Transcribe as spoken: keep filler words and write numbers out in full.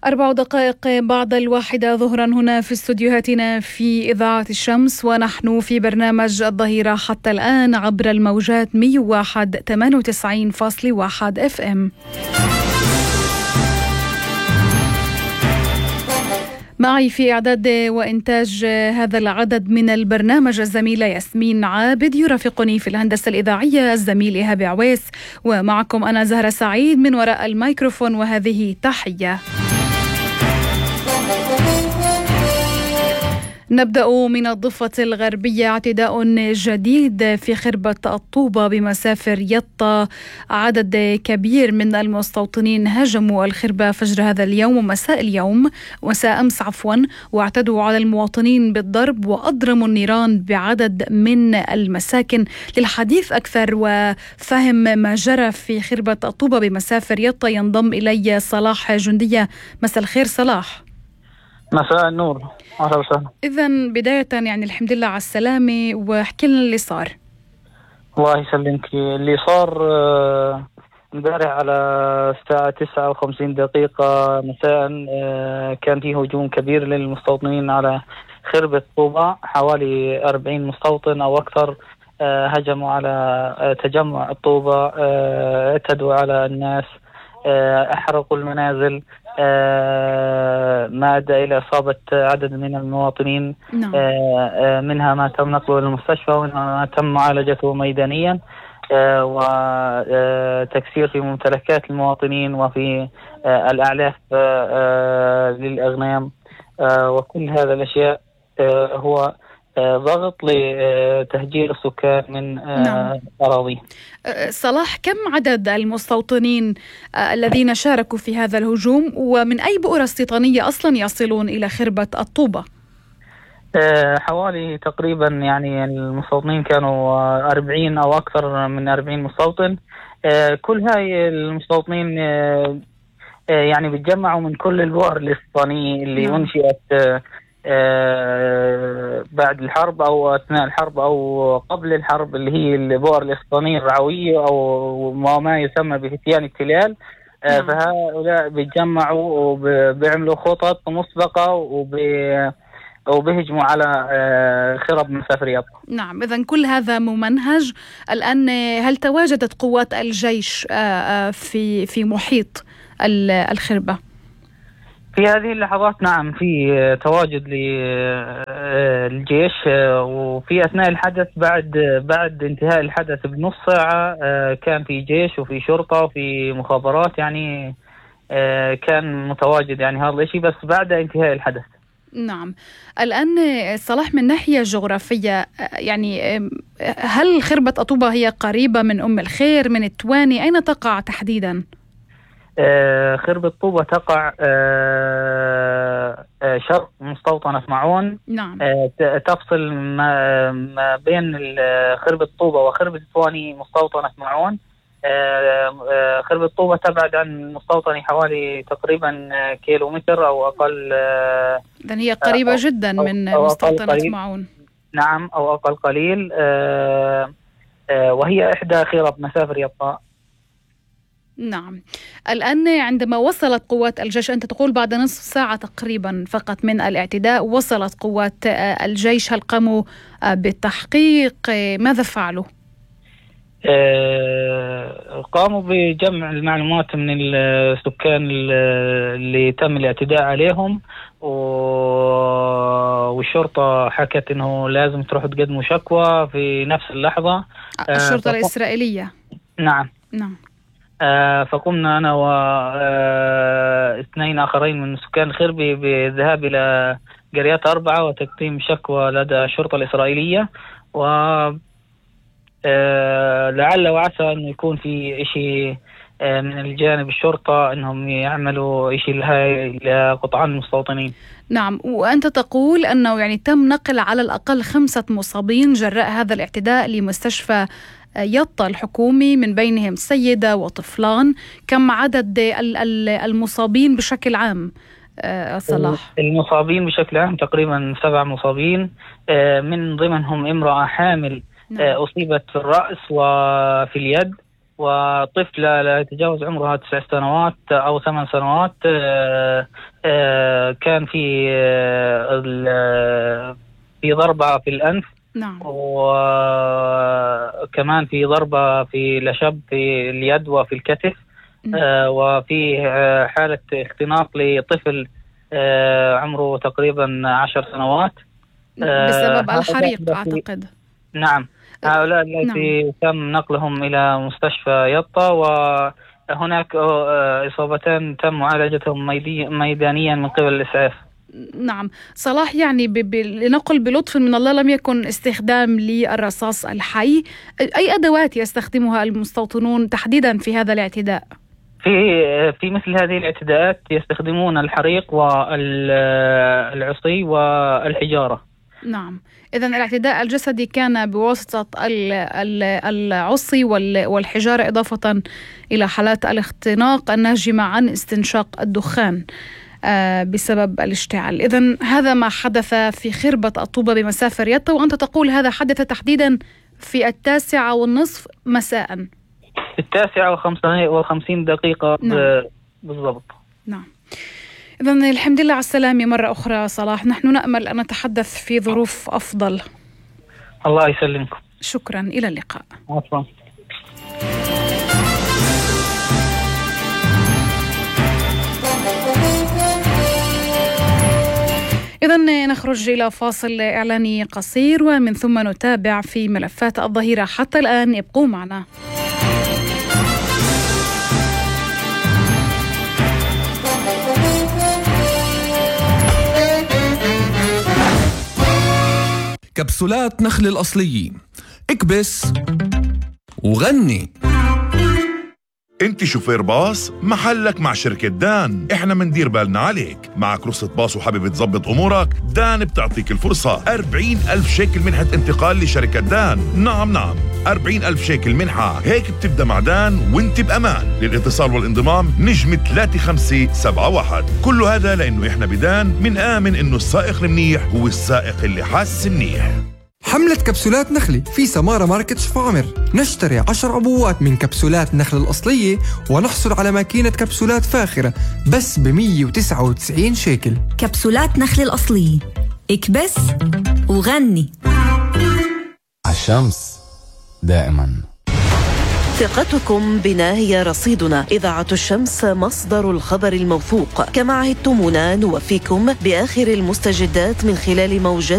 أربع دقائق بعد الواحدة ظهرا هنا في استوديوهاتنا في إذاعة الشمس، ونحن في برنامج الظهيرة حتى الآن عبر الموجات مية وواحد ثمانية وتسعين فاصلة واحد اف ام. معي في إعداد وإنتاج هذا العدد من البرنامج الزميلة ياسمين عابد، يرافقني في الهندسة الإذاعية الزميل إيهاب عويس، ومعكم أنا زهرة سعيد من وراء الميكروفون، وهذه تحية. نبدأ من الضفة الغربية. اعتداء جديد في خربة الطوبة بمسافر يطا. عدد كبير من المستوطنين هاجموا الخربة فجر هذا اليوم ومساء اليوم مساء أمس عفوا واعتدوا على المواطنين بالضرب وأضرموا النيران بعدد من المساكن. للحديث أكثر وفهم ما جرى في خربة الطوبة بمسافر يطا ينضم إلي صلاح جندية. مساء الخير صلاح. مساء النور، أهلا وسهلا. إذن بداية يعني الحمد لله على السلامة، واحكي لنا اللي صار. الله يسلمك. اللي صار امبارح على الساعة تسعة وخمسين دقيقة مساء كان فيه هجوم كبير للمستوطنين على خربة طوبة. حوالي أربعين مستوطن أو أكثر هجموا على تجمع الطوبة، اعتدوا على الناس، أحرقوا المنازل، ما أدى إلى إصابة عدد من المواطنين. نعم. منها ما تم نقله للمستشفى ومنها ما تم معالجته ميدانيا، وتكسير في ممتلكات المواطنين وفي الأعلاف للأغنام، وكل هذا الأشياء هو ضغط لتهجير السكان من نعم. أراضي. صلاح، كم عدد المستوطنين الذين شاركوا في هذا الهجوم، ومن أي بؤرة استيطانية أصلا يصلون إلى خربة الطوبة؟ حوالي تقريبا يعني المستوطنين كانوا أربعين أو أكثر من أربعين مستوطن. كل هاي المستوطنين يعني بيتجمعوا من كل البؤر الاستيطانية اللي نعم. أنشئت آه بعد الحرب أو أثناء الحرب أو قبل الحرب، اللي هي البؤر الاستيطانية الرعوية أو ما يسمى بفتيان التلال. آه نعم. فهؤلاء بيتجمعوا وبيعملوا خطط مسبقة وبيهجموا على آه خرب مسافر يطا. نعم، إذن كل هذا ممنهج. الآن هل تواجدت قوات الجيش آه في في محيط الخربة؟ في هذه اللحظات نعم في تواجد للجيش، وفي أثناء الحدث بعد بعد انتهاء الحدث بنص ساعة كان في جيش وفي شرطة وفي مخابرات، يعني كان متواجد يعني هذا الشيء بس بعد انتهاء الحدث. نعم. الآن صلاح، من ناحية جغرافية يعني هل خربة الطوبة هي قريبة من أم الخير من التواني؟ أين تقع تحديدا؟ آه خربة طوبة تقع آه آه شرق مستوطنة معون. نعم. آه تفصل ما, ما بين خربة طوبة وخربة الثواني مستوطنة معون. آه آه خربة طوبة تبعد عن مستوطنة حوالي تقريبا كيلومتر أو أقل. آه إذن هي قريبة آه جدا من مستوطنة معون. نعم، أو أقل قليل. آه آه وهي إحدى خرب مسافر يطا. نعم. الآن عندما وصلت قوات الجيش، أنت تقول بعد نصف ساعة تقريبا فقط من الاعتداء وصلت قوات الجيش، هل قاموا بالتحقيق؟ ماذا فعلوا؟ آه قاموا بجمع المعلومات من السكان اللي تم الاعتداء عليهم، والشرطة حكت إنه لازم تروح تقدموا شكوى في نفس اللحظة. الشرطة آه الإسرائيلية. نعم. نعم. آه فقمنا أنا واثنين آه آخرين من سكان خربي بالذهاب إلى قريات أربعة وتقديم شكوى لدى الشرطة الإسرائيلية، و آه لعل وعسى أن يكون في إشي آه من الجانب الشرطة أنهم يعملوا إشي لقطعان المستوطنين. نعم. وأنت تقول أنه يعني تم نقل على الأقل خمسة مصابين جراء هذا الاعتداء لمستشفى يطا الحكومي، من بينهم سيدة وطفلان. كم عدد المصابين بشكل عام صلاح؟ المصابين بشكل عام تقريبا سبع مصابين، من ضمنهم امرأة حامل نعم. أصيبت في الرأس وفي اليد، وطفلة لا يتجاوز عمرها تسع سنوات أو ثمان سنوات كان في في ضربة في الأنف. نعم. وكمان في ضربة في لشب في اليد وفي الكتف. آه وفي آه حالة اختناق لطفل آه عمره تقريبا عشر سنوات آه بسبب الحريق أعتقد. نعم، هؤلاء التي نعم. تم نقلهم إلى مستشفى يطا، وهناك آه إصابتان تم معالجتهم ميدانيا من قبل الإسعاف. نعم صلاح، يعني لنقل بلطف من الله لم يكن استخدام للرصاص الحي. أي أدوات يستخدمها المستوطنون تحديدا في هذا الاعتداء؟ في في مثل هذه الاعتداءات يستخدمون الحريق والعصي والحجارة. نعم، إذن الاعتداء الجسدي كان بواسطة العصي والحجارة، إضافة إلى حالات الاختناق الناجمة عن استنشاق الدخان بسبب الاشتعال. إذن هذا ما حدث في خربة الطوبة بمسافة يطا، وأنت تقول هذا حدث تحديدا في التاسعة والنصف مساء. في التاسعة وخمسين دقيقة. نعم. بالضبط. نعم. إذن الحمد لله على السلامة مرة أخرى صلاح، نحن نأمل أن نتحدث في ظروف أفضل. الله يسلمكم. شكرا، إلى اللقاء. عفوا. إذن نخرج إلى فاصل إعلاني قصير ومن ثم نتابع في ملفات الظهيرة. حتى الآن ابقوا معنا. كبسولات نخل الأصلية، اكبس وغني. انت شوفير باص، محلك مع شركة دان، احنا مندير بالنا عليك. معك رخصة باص وحابب تظبط امورك؟ دان بتعطيك الفرصة أربعين ألف شيكل منحة انتقال لشركة دان. نعم نعم أربعين ألف شيكل منحة، هيك بتبدأ مع دان وانت بأمان. للاتصال والانضمام نجم ثلاثة خمسة سبعة واحد. كل هذا لأنه احنا بدان من آمن انه السائق المنيح هو السائق اللي حاس منيح. حملة كبسولات نخلي في سمارة ماركت شفاعمر. نشتري عشر عبوات من كبسولات نخل الأصلية ونحصل على ماكينة كبسولات فاخرة بس ب مية وتسعة وتسعين شيكل. كبسولات نخل الأصلية، اكبس وغني. عالشمس دائما. ثقتكم بنا هي رصيدنا. إذاعة الشمس مصدر الخبر الموثوق. كما عهدتمونا نوفيكم بآخر المستجدات من خلال موجات